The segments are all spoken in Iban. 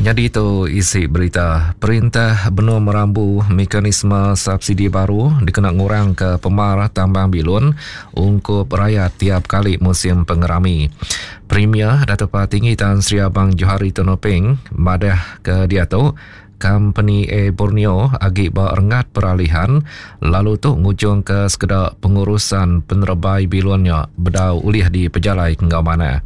Nyadi tu isi berita, perintah benung merambu mekanisme subsidi baru dikena ngurangka pemar tambang bilun ungkup rayat tiap kali musim pengerami. Premier Datuk Patinggi Tan Sri Abang Johari Tun Openg madah ke diatu Kompeni Air Borneo agi ba renggat peralihan lalu tu ngujungka sekeda pengurusan penerebai bilun nya bedau ulih dipejalaika enggau manah.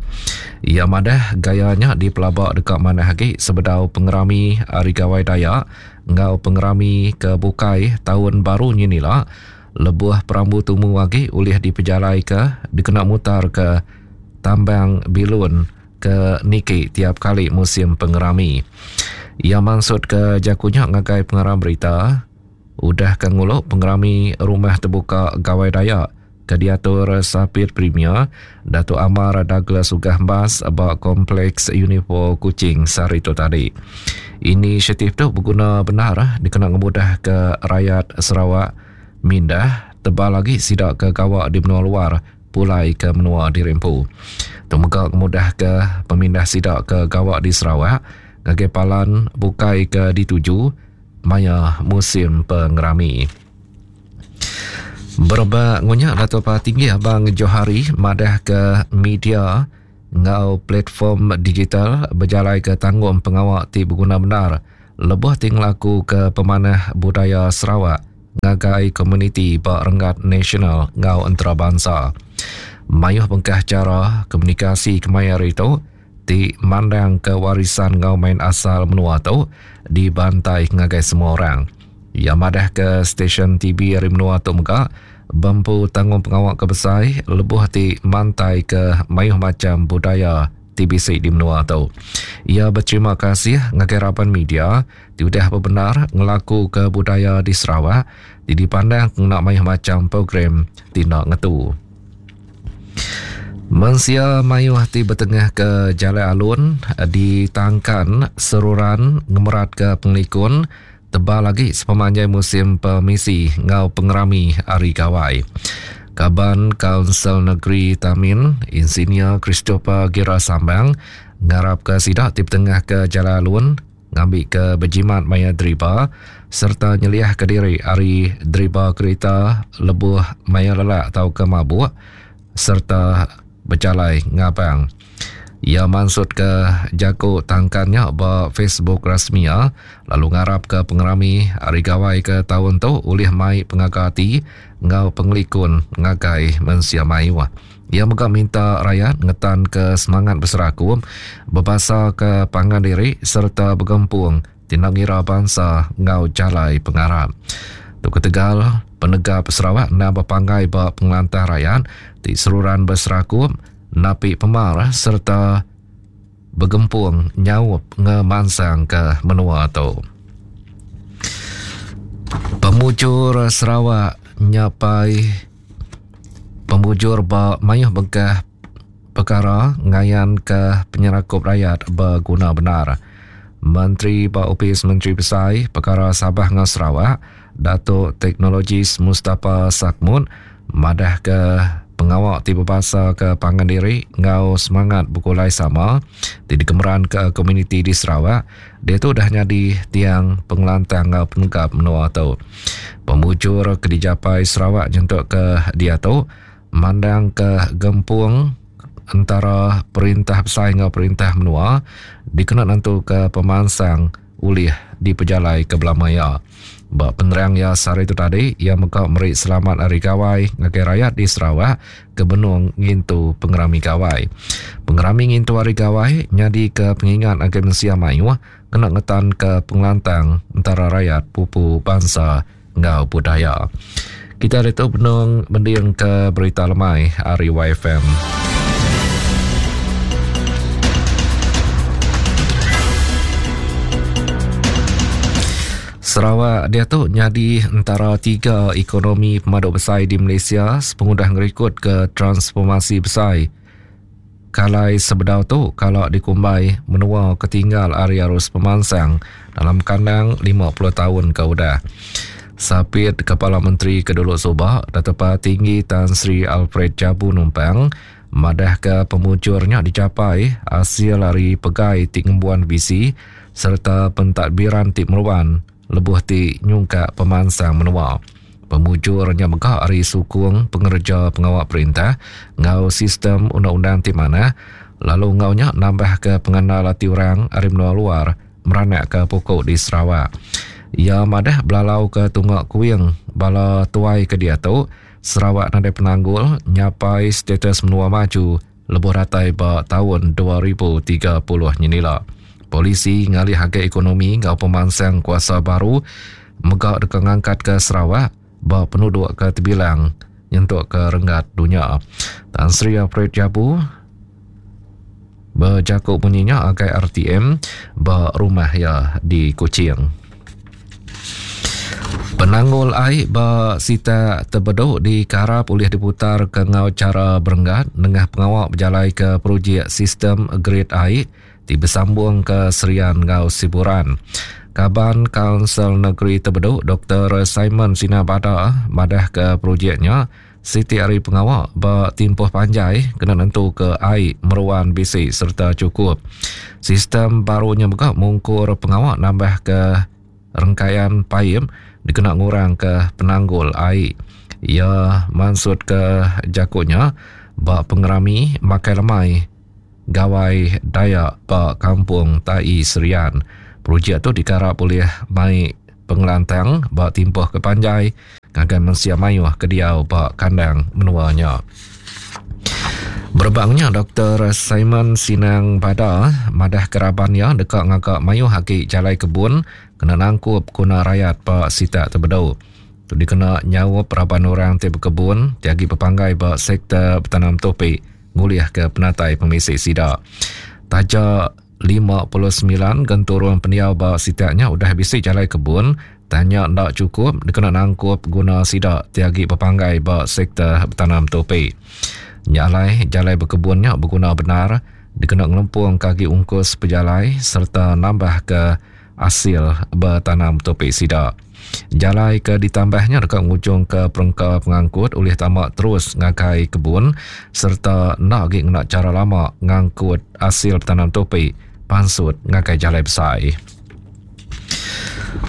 Iya madah gaya nya dipelaba deka manah agi sebedau pengerami Hari Gawai Dayak enggau pengerami ke bukai taun baru nyin ila lebuh perambu tumu agi ulih dipejalaika dikena mutarka tambang bilun ke niki tiap kali musim pengerami. Iya mansutka jaku nya ngagai pengarang berita udah ke ngulu pengerami Rumah Tebuka Gawai Dayak ke diatur Sapit Premier Datuk Amar Douglas Uggah Embas ba Kompleks Unifor Kuching sehari tu tadi. Inisiatif tu beguna bendar dikena ngemudahka rayat Sarawak mindah tebal agi sida ke gawa di menua luar pulai ke menua diri empu. Tu mega ngemudahka pemindah sida ke gawa di Sarawak ngagai palan bukai ke dituju maya musim pengerami. Berebak ngunya Datuk Patinggi Abang Johari madahka media enggau platform digital bejalaika tanggung pengawa ti beguna bendar lebuh ti ngelakuka pemanah budaya Sarawak ngagai komuniti ba renggat nasional enggau entarabansa. Mayuh bengkah chara komunikasi kemaya hari tu ti mandangka warisan enggau main asal menua tu dibantai ngagai semua orang. Iya madahka stesyen TV ari menua tu mega bempu tanggungpengawa ke besai lebuh ti mantaika mayuh macham budaya ti bisi di menua tu. Iya beterima kasih ngagai raban media ti udah bebendar ngelakuka budaya di Sarawak ti dipandang ngena mayuh macham program ti enda ngetu. Mensia mayuh ti betengahka jalai alun ditangkan seruran ngemeratka pengelikun tebal agi sepemanjai musim pemisi enggau pengerami Hari Gawai. Kaban Kaunsil Negeri Tamin, Insinyur Christopher Gira Sambang ngarapka sida ti betengahka jalai alun ngambika bejimat maya deriba sereta nyeliahka diri ari deriba kerita lebuh maya lelak tauka mabuk sereta bejalai ngabang. Iya mansutka jaku tangkan nya ba Facebook rasmi iya lalu ngarapka pengerami Hari Gawai ke taun tu ulih mai pengaga ati enggau pengelikun ngagai mensia mayuh. Iya mega minta rayat ngetanka semangat beserakup, bebasaka pangan diri sereta begempung ti enda ngira bansa enggau jalai pengarap. Tu ketegal penegap Sarawak endang bepanggai ba pengelantang rayat ti seruran beserakup, napi pemar sereta begempung nyaup ngemansangka menua tu. Pemujur Sarawak nyapai pemujur ba mayuh bengkah pekara ngayanka penyerakup rayat beguna bendar. Menteri ba Opis Menteri Besai Pekara Sabah enggau Sarawak, Datuk Teknologis Mustapha Sakmud madahka pengawa ti bebasaka pangan diri enggau semangat begulai sama ti dikemeranka komuniti di Sarawak diatu udah nyadi tiang pengelantang enggau penegap menua tu. Pemujur ke dijapai Sarawak nyentuk ke diatu mandangka gempung entara perintah besai enggau perintah menua dikena nentuka pemansang ulih dipejalaika belama iya. Ba penerang iya sehari tu tadi, iya mega meri selamat Hari Gawai ngagai rayat di Sarawak ke benung ngintu pengerami Gawai. Pengerami ngintu Hari Gawai nyadika pengingat ngagai mensia mayuh kena ngetanka pengelantang entara rayat pupu bansa enggau budaya. Kita ditu benung mendingka berita lemai ari YFM. Sarawak diatu nyadi entara tiga ekonomi pemadu besai di Malaysia sepengudah ngerikutka transformasi besai Kalai sebedau tu kala dikumbai menua ke tinggal ari arus pemansang dalam kandang 50 taun ke udah. Sapit Kepala Menteri ke dulu suba, Datuk Patinggi Tan Sri Alfred Jabu Numpang, madahka pemujur nya dijapai asil ari pegai ti ngembuan visi sereta pentadbiran ti meruan lebuh ti nyungkak pemansang menua. Pemujur nya mega ari sukung pengereja pengawa perintah enggau sistem undang-undang ti manah lalu enggau nya nambahka pengandal ati orang ari menua luar meranakka puku di Sarawak. Iya madah belalauka tunga kuing bala tuai ke diatu, Sarawak nadai penanggul nyapai status menua maju lebuh datai ba taun 2030 nyenila. Polisi ngalih agi ekonomi enggau pemansang kuasa baru mega deka ngangkatka Sarawak ba penuduk ke tebilang nyentuk ke renggat dunya. Tan Sri Alfred Jabu bejaku munyi nya agai RTM ba rumah iya di Kuching. Penanggul ai ba sitak Tebedu dikarap ulih diputarka enggau chara berenggat nengah pengawa bejalaika projek sistem grid ai ti besambung ke Serian enggau Siburan. Kaban Kaunsil Negeri Tebedu Doktor Simon Sina Bada madahka projek nya siti ari pengawa ba timpuh panjai kena nentuka ai meruan bisi sereta chukup. Sistem baru nya mega mungkur pengawa nambahka rengkayan paip dikena ngurangka penanggul ai. Iya mansutka jaku nya ba pengerami makai lemai Gawai Dayak ba Kampung Tai Serian. Projek tu dikarap ulih mai pengelantang ba timpuh ke panjai ngagai mensia mayuh ke diau ba kandang menua nya. Berebak nya, Doktor Simon Sinang Bada madahka raban iya deka ngaga mayuh agi jalai kebun kena nangkup guna rayat ba sitak Tebedu. Tu dikena nyaup raban orang ti bekebun ti agi bepanggai ba sektor betanam tupi ngulihka penatai pemisi sida. Taja 59 genturung pendiau ba sitak nya udah bisi jalai kebun, tang nya enda chukup dikena nangkup guna sida ti agi bepanggai ba sektor betanam tupi. Nya alai, jalai bekebun nya beguna bendar dikena ngelempungka agi ungkus pejalai sereta nambahka asil betanam tupi sida. Jalai ke ditambah nya deka ngujungka perengka pengangkut ulih tama terus ngagai kebun sereta enda agi ngena chara lama ngangkut asil betanam tupi pansut ngagai jalai besai.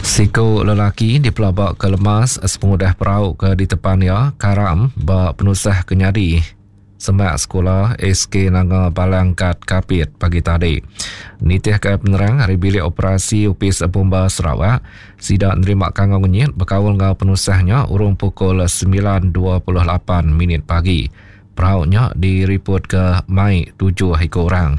Siku lelaki dipelabaka lemas sepengudah perau ke ditepan iya karam ba penusah ke nyadi Semak sekula SK Nanga Balang Kat Kapit pagi tadi. Nitihka penerang ari Bilik Operasi Opis Bomba Sarawak, sida nerima kangau ngenyit bekaul enggau penusah nya urung pukul 9.28 minit pagi. Perau nya diripotka mai tujuh iku orang.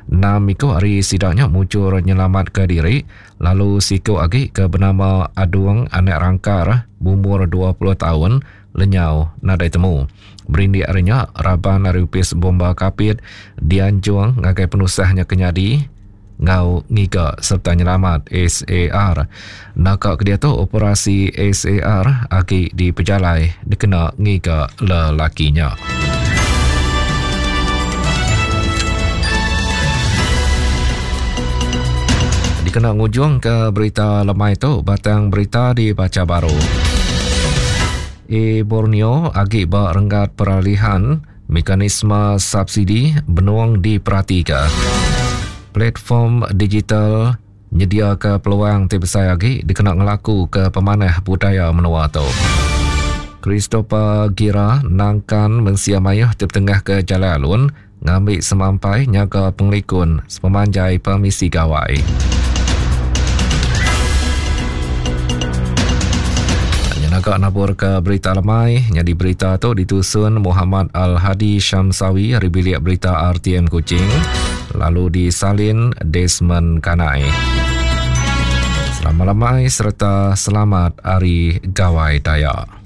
Enam iku ari sida nya mujur nyelamatka diri lalu siku agi ke benama Adung Anak Rangkar bumur 20 taun lenyau nadai temu. Berindik ari nya, raban ari Opis Bomba Kapit dianjung ngagai penusah nya ke nyadi enggau ngiga sereta nyelamat SAR. Naka ke diatu operasi SAR agi dipejalai dikena ngiga lelaki nya. Dikena ngujungka berita lemai tu, batang berita dibacha baru. E Borneo agi ba renggat peralihan mekanisme subsidi benung diperatika. Platform digital nyediaka peluang ti besai agi dikena ngelakuka pemanah budaya menua tu. Christopher Gira nangkan mensia mayuh ti betengahka jalai alun ngambi semampai nyaga pengelikun sepemanjai pemisi gawai. Nyenaga nabur ke berita lemai, nyadi berita tu ditusun Muhammad Al-Hadi Syamsawi ari bilik berita RTM Kuching, lalu disalin Desmond Kanai. Selamat lemai sereta selamat Hari Gawai Dayak.